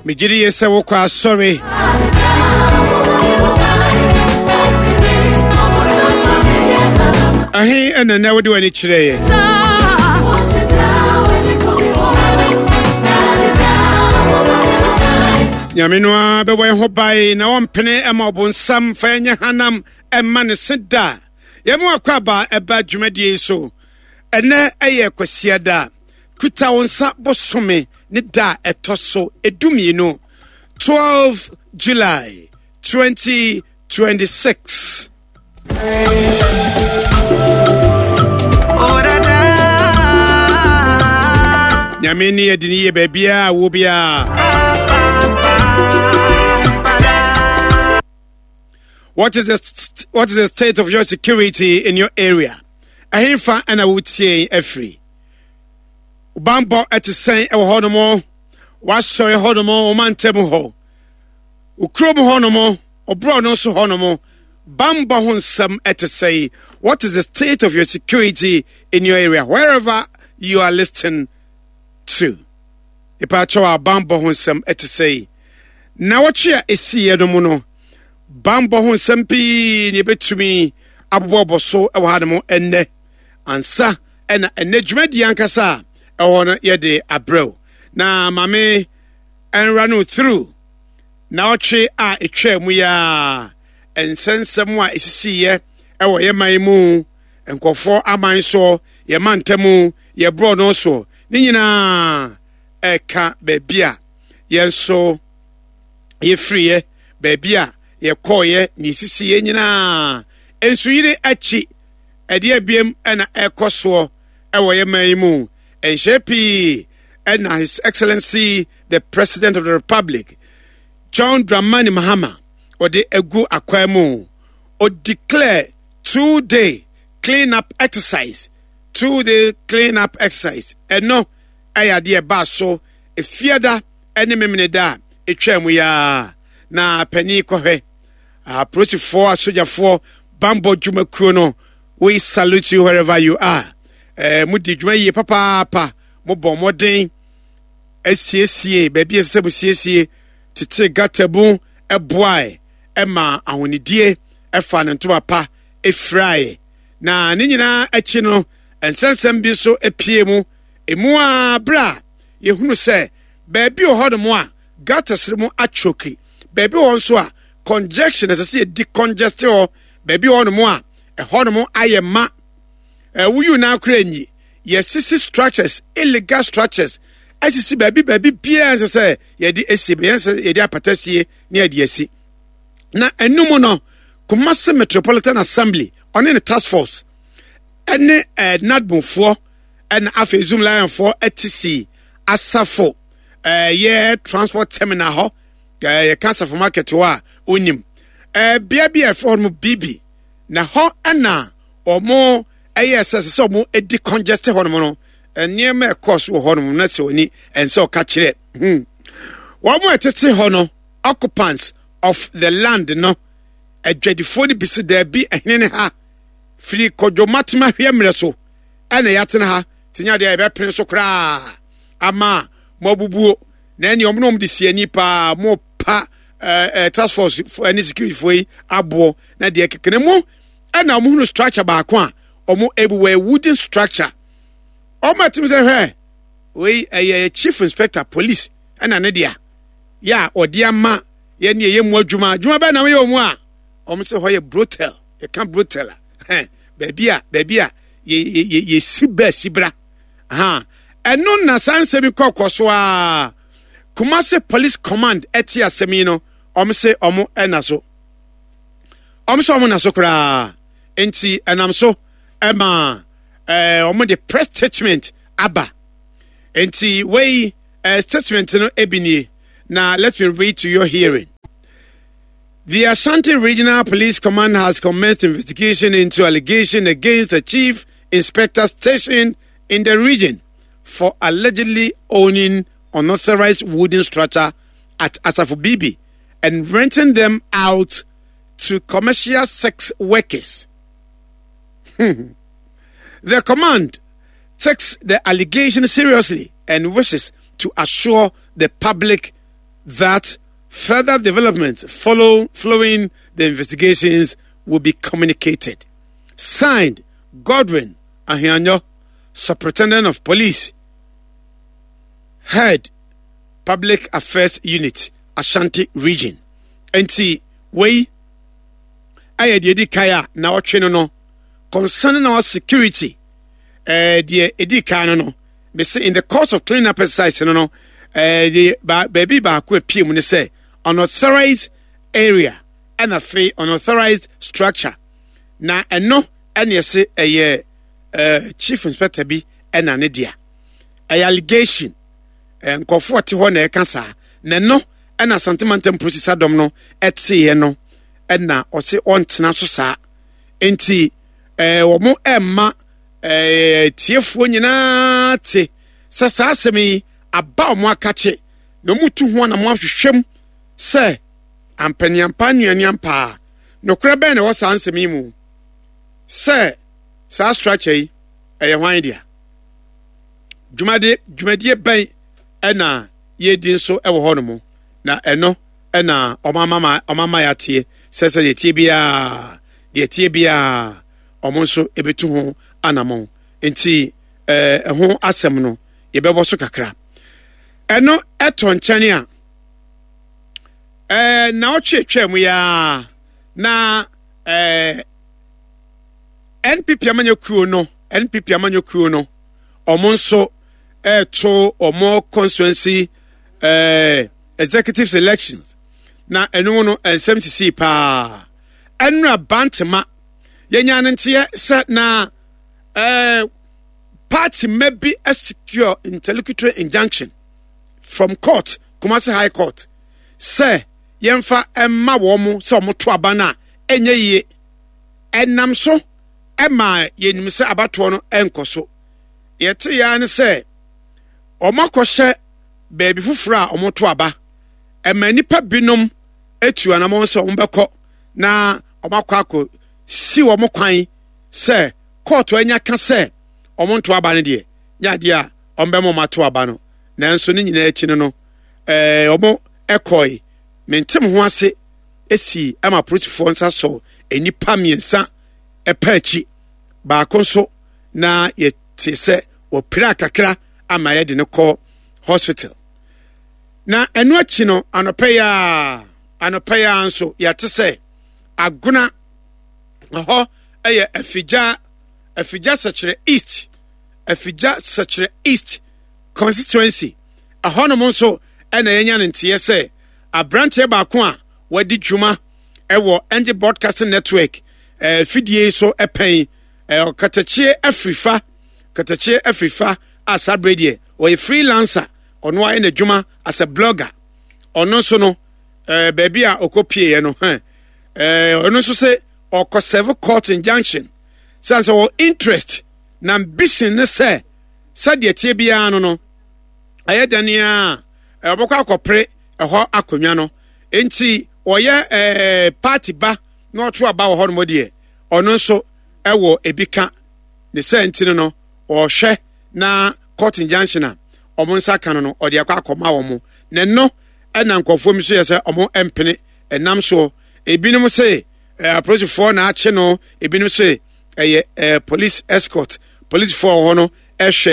Megye di yie sɛ wokɔ asɔre. Ɛhe ɛna nɛ wode w'ani kyerɛeɛ? Nyame no ara bɛbɔ yɛn ho ban na ɔmpene ɛma ɔbonsam fa yɛnyɛ hanam ɛma ne se da. Yɛma wakɔ aba ɛba dwumadie yi so. Ɛnɛ ɛyɛ Kwasiada. Kuta wo nsa bosome ne da a ɛtɔ so edumienu, 12 July 2026. Nyame ne yɛde ne yie baabiaa wɔ biara. What is the what is the state of your security in your area? Ɛhefa ɛna wotie afiri? Bammɔ te sɛn wɔ hɔnom? W'asɔre hɔnom, wo mantam hɔ, wo kurom hɔnom, wo borɔno so hɔnom, bammɔ ho nsɛm te sɛn? What is the state of your security in your area, wherever you are listening to? Ipaakyɛw a bammɔ ho nsɛm te sɛn? Na wɔtwe a esiiɛ no mu no, bammɔ ho nsɛm pii na ebetumi abobɔbɔ so wɔ hanom ɛnnɛ ansa ɛna ɛnɛ dwumadie ankasa a ɛwɔ no yɛde abrɛw na maame ɛnra no through na ɔtwe a ɛtwaa mu yi a nsɛnsɛm a ɛsisiiɛ ɛwɔ yɛ man mu nkurɔfoɔ aman soɔ yɛ mantamu yɛ borɔ no soɔ ne nyinaa ɛka baabi a yɛn nso yɛfiriiɛ baabi a yɛkɔɔyɛ ne ɛsisiiɛ nyinaa nsuyiri akyi Ɛdeɛ biem na ɛrekɔ soɔ wɔ yɛ man yi mu. Nhyɛ pii na His Excellency the President of the Republic John Dramani Mahama ɔde agu akwan mu. O declare 2-day clean up exercise, 2-day clean up exercise. Ɛno ɛyɛ adeɛ ɛbaa so efiada ne memeneda a etwaa mu yi ara. Na panin kɔhwɛ. Apolisifoɔ, asogyafoɔ, bambɔ dwumakuo no, we salute you wherever you are. Eh, mo di dwuma yie papaapa, mo bɔ mmɔden asiesie baabi a ɛsɛ sɛ mo siesie, tete gata mu ɛboae ɛma ahonidie ɛfa ne ntoma pa efirae. Na ne nyinaa akyi no, nsɛnsɛm bi nso epie mu. Emu a bere a yɛhunu sɛ baabi wɔ hɔnom a gutters no mu atwoki, baabi wɔ hɔ nso a congestion ɛsɛ sɛ yɛdi congest hɔ, baabi wɔ hɔnom a ɛhɔnom ayɛ ma woyi na akora nyi, yɛsisi structures, illegal structures asisi baabi baabi biara nsɛ sɛ yɛde asie, bɛyɛ sɛ yɛde apata sie ne yɛde asi. Na ɛno mu no, Kumasi Metropolitan Assembly ɔne ne task force ɛne NADMOfoɔ ɛna afei Zoom Lionfoɔ ɛte si asafo ɛyɛ transport terminal hɔ, yɛka asafo market hɔ a onim bea bi a ɛfrɛ hɔ no bibi, na hɔ ɛna wɔn ɛyɛ sɛ sɛ wɔn edi congest hɔ nom no, nneɛma ɛkɔɔ so wɔ hɔ nom na sɛ oni ɛnsɛ ɔka kyerɛ wɔn a ɛtete hɔ no, occupants of the land no, adwadifoɔ no bi si daabi, ɛhene ne ha firi kɔdwomatema hwɛ mmerɛ so ɛna yɛatena ha te nya deɛ yɛbɛpene so koraa ama mo abubuo, na ɛne ɔmo na ɔmo de si ani paa mo pa ɛɛ task force ɛne security foɔ yi aboɔ na deɛ kekene mu ɛna ɔmo hunu structure baako a ɔmo ebu wɔ wooden structure. Ɔmo ɛtim sɛ hwɛ wei ɛyɛ chief inspector police ɛna ne dea yɛ a ɔde ama yɛ ne ɛyɛ mu adwuma adwuma bɛɛ na wɔyɛ ɔmo a ɔmo sɛ hɔ yɛ brothel, yɛka brothel a hɛn baabi a baabi a yɛ yɛ yɛsi bɛɛ si bra ha. Ɛno na saa nsɛm yi kɔkɔ so a Kumasi Police Command ɛte asɛm yi no, ɔmo se ɔmo ɛna so, ɔmo sɛ ɔmo na so koraa, nti ɛnam so ɛma ɔmo de press statement aba. Nti wei statement no ebi nie, na let me read to your hearing. The Ashanti Regional Police Command has commenced investigation into allegation against the chief inspector stationed in the region for allegedly owning unauthorized wooden structure at Asafo Bibi and renting them out to commercial sex workers. The command takes the allegation seriously and wishes to assure the public that further developments follow, following the investigations will be communicated. Signed, Godwin Ahianyo, Superintendent of Police, Head, Public Affairs Unit, Ashanti Region. Nti, wei ɛyɛ deɛ ɛdi kan a na ɔtwe no no concerning our security ɛɛ deɛ ɛdi kan no no mese in the course of cleaning up exercise no no ɛɛ deɛ baabi baako apue mu ne sɛ unauthorized area ɛna afei unauthorized structure na ɛno ɛna ɛse ɛyɛ ɛɛ chief inspector bi ɛna ne dea ɛyɛ allegation ɛɛ nkurɔfoɔ te hɔ na ɛka saa na ɛno ɛna Asante Mantam Polisi Sadɔm no ɛteeɛ no ɛna ɔse ɔntena so saa nti ɛɛ wɔn ɛmma ɛɛ tiefoɔ nyinaa te sɛ saa asɛm yi aba wɔn akakye na wɔn tu ho anam ahwehwɛ mu sɛ ampaniampa nnuaniampa a nokorɛ bɛn na ɛwɔ saa nsɛm yi mu sɛ saa structure yi ɛyɛ hwan dea dwumadie dwumadie bɛn ɛna yɛredi nso wɔ hɔnom, na ɛno na wɔama ma wɔama yɛateɛ sɛ sɛ deɛ tie biara deɛ tie biara wɔn nso ɛbɛtu ho anamɔn nti ɛɛ ɛho asɛm no yɛbɛbɔ so kakra ɛno ɛtɔ nkyɛn a ɛɛ na ɔtwe atwa mu yaa na ɛɛ npp amanyɔ kuo no npp amanyɔ kuo no wɔn nso ɛreto wɔn constituency ɛɛ executive elections na ɛno no nsɛm sisi paa ɛnura bantama yɛnya no nteɛ sɛ na ɛɛ party mma bi secure interlocutory injunction from court Kumasi High Court sɛ yɛmfa ɛma wɔn sɛ wɔn to aba no a ɛnyɛ yie ɛnam so ɛma yɛnim sɛ abatoɔ no ɛnkɔ so. Yɛte ara ne sɛ wɔakɔhyɛ baabi foforɔ a wɔto aba. Ɛma nnipa binom atu anamɔn sɛ wɔbɛkɔ na wɔakɔ akɔ si wɔn kwan sɛ kɔɔto anya ka sɛ wɔnto aba no deɛ nyɛ adeɛ a wɔbɛma wɔn ato aba no. Nanso ne nyinaa akyi no no, ɛɛ wɔn kɔe. Mente mo ho ase esi ama apolisifoɔ nsa sɔ nnipa mmiɛnsa ɛpɛ akyi. Baako nso na yɛte sɛ wɔpira kakra ama yɛde no kɔ hospital na ɛno akyi no anɔpɛ yi a anɔpɛ yi a nso yɛte sɛ agona ɛhɔ yɛ afigya afigya sɛkyerɛ east afigya sɛkyerɛ east constituency ɛhɔnom nso ɛna yɛnya no nteɛ sɛ aberanteɛ baako a wadi dwuma ɛwɔ Angel Broadcasting Network ɛɛ fidie so ɛpɛn ɛɛ ɔkatakyie afirifa katakyie afirifa a saa bere deɛ ɔyɛ freelancer ɔno ayɛ n'adwuma as a blogger ɔno nso no ɛɛ baabi a ɔkɔ pieɛ no hɛn ɛɛ ɔno nso sɛ ɔkɔ serve court injunction sɛ sɛ wɔ interest na ambition ne sɛ sɛdeɛ tie biara no no ɛyɛ dɛn a ɔbɛkɔ akɔpere ɛhɔ akonnwa no nti ɔyɛ ɛɛ party ba na ɔto aba wɔ hɔnom deɛ ɔno nso ɛwɔ ebi ka ne sɛ nti no no ɔhwɛ na court injunction a wɔn nsa ka no no ɔde akɔ akɔma wɔn na ɛno ɛna nkurɔfoɔ bi nso yɛ sɛ wɔn mpene ɛnam soɔ ebinom se ɛɛ apolisifoɔ na akye no ebinom se ɛyɛ ɛɛ police escort polisifoɔ wɔ hɔ no ɛhwɛ.